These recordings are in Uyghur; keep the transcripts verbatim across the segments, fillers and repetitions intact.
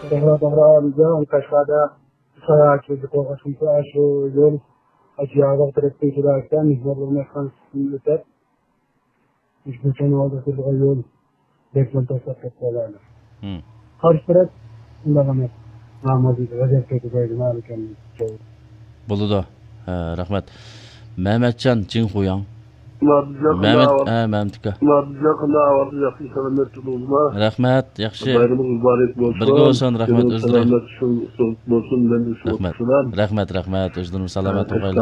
توغرا، توغرا، ئالىجان، قەشقەردە ساياھەتچىلىككە قورغاش بولسا، شۇ يول، ئاشۇ ياغداغ تەرەپتىن كېلەركەن، مېھمانلىرىمۇ ياتقان ئۈستىدىن ئۆتەپ، مۇشۇ كوچىنىڭ ئالدىغا كېلىدىغان يول بەكمۇ توساپ كەتتى. قارشى تەرەپ شۇنداق ئەمەس. نامازى غەزەپ كېتىدۇ، نامىكەن. بولىدۇ. ھە، رەھمەت. مەمەتجان جىڭخۇياڭ. مەمەت، ھە، مەمەت ئاكا. رەھمەت، ياخشى. بايرىمىڭىز مۇبارەك بولسۇن. بىرگە بولسۇن، رەھمەت، ئۆزلىرى. سالامەت بولسۇن، مەن رەھمەت. رەھمەت، رەھمەت، ئۆزلىرىمۇ سالامەت بولغايلى.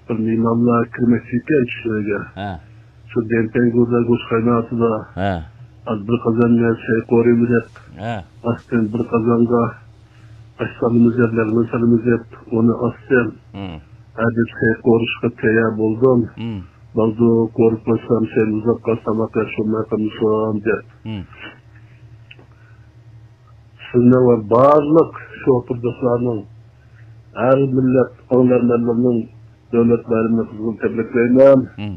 بىر مېھمانلار كىرمەكچى ئىكەن چۈشلەرگە. ھە. شۇ دەنتەڭگۈردە گۆش قايناتىدۇ. ھە. ئاز بىر قازان نەرسە قورۇۋېلىپ، ھە. ئاستىن بىر قازانغا ئاش سالىمىز دەپ، لەغمەن سالىمىز دەپ، ئۇنى ئاستىن. ھە، دەپ سەي قورۇشقا تەييار بولدۇم. بولدى، قورۇپ قويسام، سەل ئۇزاپ قالسا تاماق يەپ بولماي قالمىسۇن دەپ. سىزنىڭ ۋە بارلىق شوپۇر دوستلارنىڭ، ھەر مىللەت ئاڭلارمەنلىرىنىڭ دۆلەت بايرىمىنى قىزغىن تەبرىكلەيمەن. مم.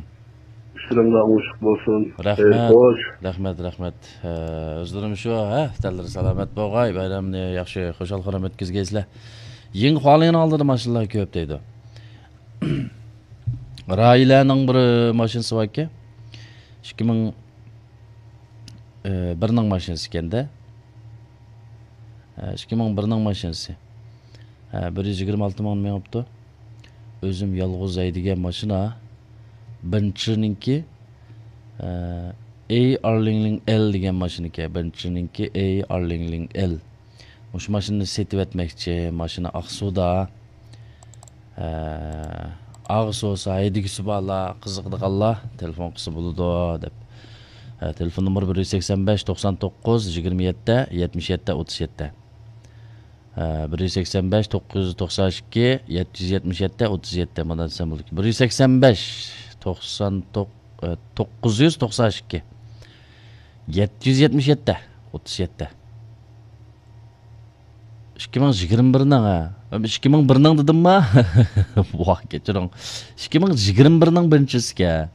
ئىشلىرىڭلار ئوڭۇشلۇق بولسۇن. رەھمەت. خەير خوش. رەھمەت، رەھمەت. ئە، ئۆزلىرىمۇ شۇ، ھە، تەنلىرى سالامەت بولغاي، بايرامنى ياخشى، خۇشال-خۇرام ئۆتكۈزگەيسىلەر. يېڭى خۇالىڭنى ئالدىدا ماشىنىلار كۆپ دەيدۇ. راھىلەنىڭ بىر ماشىنىسى باركەن. ئىككى مىڭ، ئە، بىرنىڭ ماشىنىسى ئىكەن-دە. ئە، ئىككى مىڭ بىرنىڭ ماشىنىسى. ھە، بىر يۈز يىگىرمە ئالتە مىڭ مېڭىپتۇ. ئۆزۈم يالغۇز ھەيدىگەن ماشىنا. بېنتلىنىڭكى، ئە، ئەي ئارلىڭلىڭ ئېل دېگەن ماشىنىكەن. بېنتلىنىڭكى ئەي ئارلىڭلىڭ ئېل. مۇشۇ ماشىنىنى سېتىۋەتمەكچى. ماشىنا ئاقسۇدا. ئە، ئاغىسى بولسا، ھەيدىگۈسى بارلار، قىزىقىدىغانلار تېلېفون قىلسا بولىدۇ، دەپ. ئە، تېلېفون نومۇرى بىر يۈز سەكسەن بەش، توقسان توققۇز، يىگىرمە يەتتە، يەتمىش يەتتە، ئوتتۇز يەتتە. ھە، بىر يۈز سەكسەن بەش، توققۇز يۈز توقسان ئىككى، يەتتە يۈز يەتمىش يەتتە، ئوتتۇز يەتتە، مانا دېسەم بولىدۇ. بىر يۈز سەكسەن بەش، توقسان توققۇز، ئە، توققۇز يۈز توقسان ئىككى، يەتتە يۈز يەتمىش يەتتە، ئوتتۇز يەتتە. ئىككى مىڭ يىگىرمە بىرنىڭ، ھە. ئىككى مىڭ بىرنىڭ دېدىمما؟ ۋاھ، كەچۈرۈڭ. ئىككى مىڭ يىگىرمە بىرنىڭ بىرىنچىسىكەن.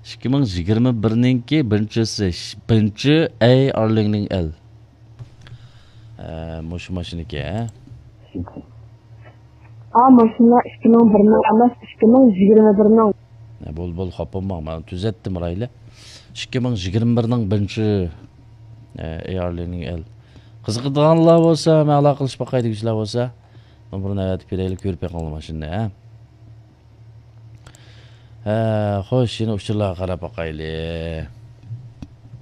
ئىككى مىڭ يىگىرمە بىرنىڭكى بىرىنچىسى، بىرىنچى ئەي ئارلىڭلىڭ ئېل. ئە، مۇشۇ ماشىنىكى، ھە؟ ئا، ماشىنا ئىككى مىڭ بىرنىڭ ئەمەس، ئىككى مىڭ يىگىرمە بىرنىڭ. ئە، بول، بول، خاپا بولماڭ، مەن تۈزەتتىم رايلى. ئىككى مىڭ يىگىرمە بىرنىڭ بىرىنچى، ئە، ئەي ئارلىڭلىڭ ئېل. قىزىقىدىغانلار بولسا، مەن ئالاقىلىشىپ باقاي دېگۈچىلەر بولسا، نومۇرنى ئەۋەتىپ بېرەيلى، كۆرۈپ بېقىڭلار ماشىنىنى، ھە؟ ھە، خوش، يەنە ئۇچۇرلارغا قاراپ باقايلى.